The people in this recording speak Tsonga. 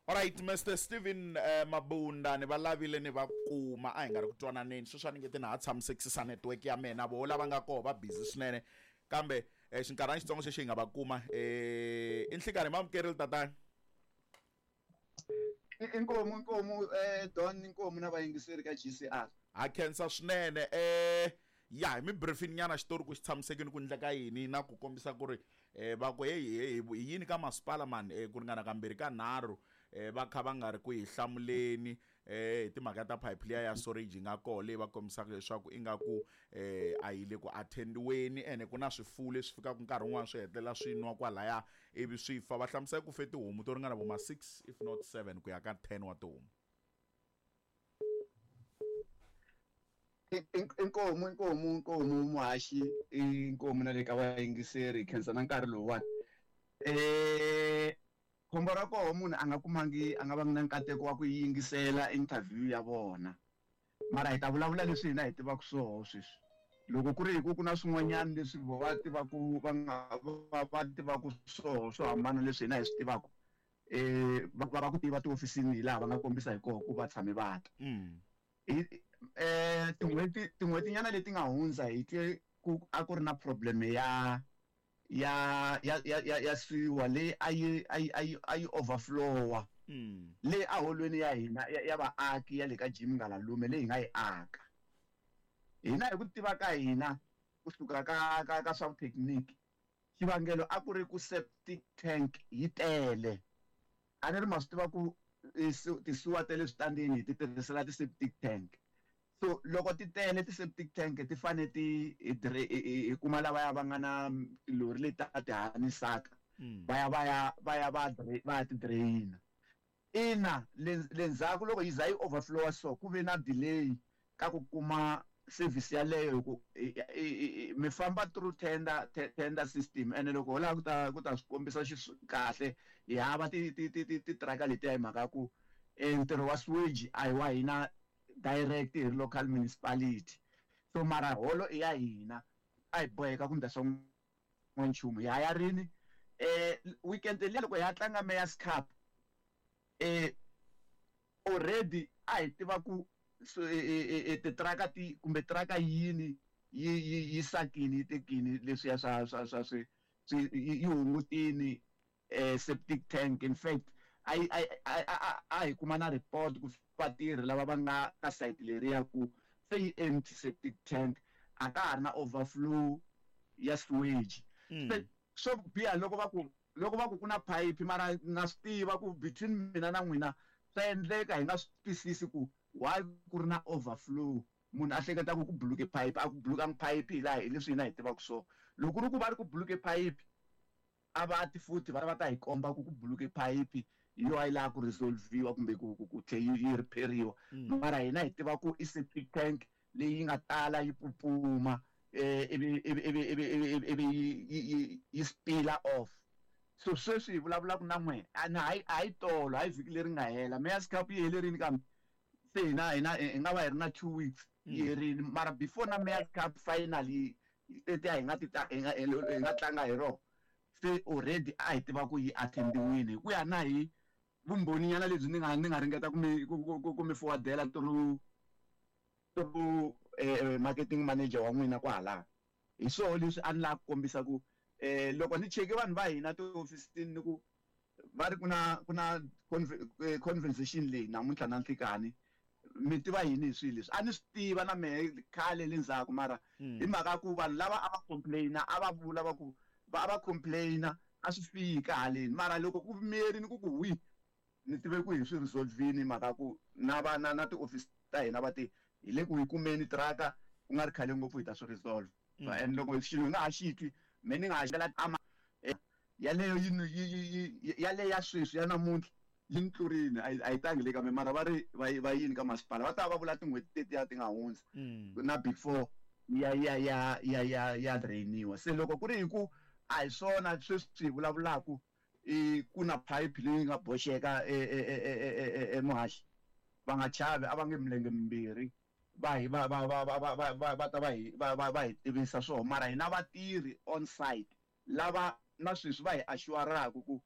Alright, Mr Steven Mabunda ni va lavile ni va kuma a hi nga ri ku twananeni sweswi a ni nge ti na ha tshamisekisisa network ya mina voho lava nga koho va busy swinene kambe xinkarhana xitsongo xexi hi nga va kuma i nhlikani ma amukerile tatana. Inkomu inkomu Don inkomu na vayingiseri ka GCR. Ha khensa swinene ya hi mi briefing nyana xitori ku xi tshamisekile ku ndleka yini na ku kombisa ku ri va ku heyi heyi hi yini ka masipala mani ku ringana kambirhi ka nharhu va kha va nga ri ku hi hlamuleni hi timhaka ta pipe liya ya storage yi nga koho leyi va kombisaka leswaku ingaku a yi le ku attendiweni ene ku na swifuwo leswi fikaka nkarhi wun'wani swi hetelela swi nwa kwalaya ivi swi fa. Va hlamusela ku fe tihomu to ringana vo ma 6 if not 7 ku ya ka 10 wa tihomu. Inkomu inkomu inkomu muhaxi inkomu na le ka vayingiseri khensa na nkarhi lowuwani khombo ra koho munhu a nga kumangi a nga vangi na nkateko wa ku yingisela interview ya vona mara hi ta vulavula leswi hina hi tivaka swoho sweswi loko ku ri hi ku ku na swin'wanyana leswi vo va tivaku va nga va tivaku swoho swo hambana leswi hina hi swi tivaku va va ku tiva tihofisini hi laha va nga kombisa hi koho ku va tshame va ta hi tin'hweti tin'hwetinyana leti nga hundza hi twe ku a ku ri na problem ya ya ya ya ya ya siwa leyi a yi a yi a yi a yi overflowa leyi a holweni ya hina ya, ya vaaki ya le ka Jim Ngalalume leyi hi nga yi aka hina hi ku tiva ka hina kusuka ka ka ka swa vuthekiniki xivangelo a ku ri ku septic tank yi tele a ni ri ma swi tiva ku tisuwa ta le switandini hi ti tirhisela ti-septic tank so loko ti tele ti-septic tank ti fane ti hi kuma lavaya va nga na tilori leti ta ti hanisaka va ya va ya va ya va va ya ti drain-a ina le le ndzhaku loko yi za yi overflow so ku ve na delay ka ku kuma service yaleyo hi ku mi famba through tender tender system ene loko ho lava ku ta ku ta swi kombisa kahle hi hava ti ti ti ti titiraka letiya hi mhaka ya ku ntirho wa sewage a hi wa hina direct hi ri local municipality so mara holo i ya hina a hi boheka ku ndla swa n'wanchumu hi haya rini weekend liya loko hi ya tlanga Mayor's Cup already a hi tiva ku titiraka ti kumbe tiraka yini yi yi yi sakini yi tekini leswiya swa swa swa swi swi yi hungutini septic tank in fact a yi a a hi kuma na report ku vatirhi lava va nga ka site leriya ku se yi empty septic tank a ka ha ri na overflow ya sewage se swo biha loko va ku loko va ku ku na phayiphi mara na swi tiva ku between mina na n'wina swa endleka hi nga swi twisisi ku why ku ri na overflow munhu a hleketa ku ku buluke phayiphi a ku bulukangi phayiphi hi laha hi leswi hina hi tivaka swona loko ku ri ku va ri ku buluke phayiphi a va ti futhi va va ta hi komba ku ku buluke phayiphi hi yo a yi lava ku resolve-iwa kumbe ku ku ku tlhe yi yi repair-iwa mara hina hi tiva ku i septic tank leyi nga tala yi pupuma ivi ivi ivi ivi ivi ivi yi yi yi spiller off so sweswi hi vulavulaka na n'we a ni hayi a hi tolo hayi vhiki leri nga hela Mayor's Cup yi hele rini kambe se hina hina hi nga va hi ri na 2 weeks yi herini mara before na Mayor's Cup final yi tetiya hi nga ti hi nga hi nga tlanga hi rona se already a hi tiva ku yi attendiwile hi ku ya na hi vumbhoni nyana lebyi ni nga ni nga ringeta ku mi ku ku ku mi forwardela through through marketing manager wa n'wina kwahala hi swoho leswi a ni lava ku kombisa ku loko ni cheke vanhu va hina tihofisini ni ku va ri ku na ku na conversation leyi namuntlha na nhlikani mi tiva yini hi swilo leswi a ni swi tiva na mehe khale le ndzhaku mara hi mhaka ku vanhu lava a va complain-a a va vula va ku va a va complain-a a swi fika haleni mara loko ku miyerini ku ku wi ni tive ku hi swi resolve-ini hi mhaka ku na va na na tiofisi ta hina va te hi le ku yi kumeni tiraka ku nga ri khale ngopfu hi ta swi resolve and loko xilo hi nga ha xi twi me ni nga ha xela ama yaleyo yi yi yi yaleyo ya sweswi ya namuntlha yi ni tlurini a yi a yi tangi le ka me mara va ri va va yini ka masipala va ta va vula tin'hweti tetiya ti nga hundza na before ya ya ya ya ya ya drainiwa se loko ku ri hi ku a hi swona sweswi hi vulavulaku i ku na pipe leyi nga boxeka emuhaxi va nga chavi a va nge milenge mimbirhi va hi va va va va va va va va ta va hi va va va hi tivisa swona mara hina vatirhi on site lava na sweswi va hi assure-aku ku.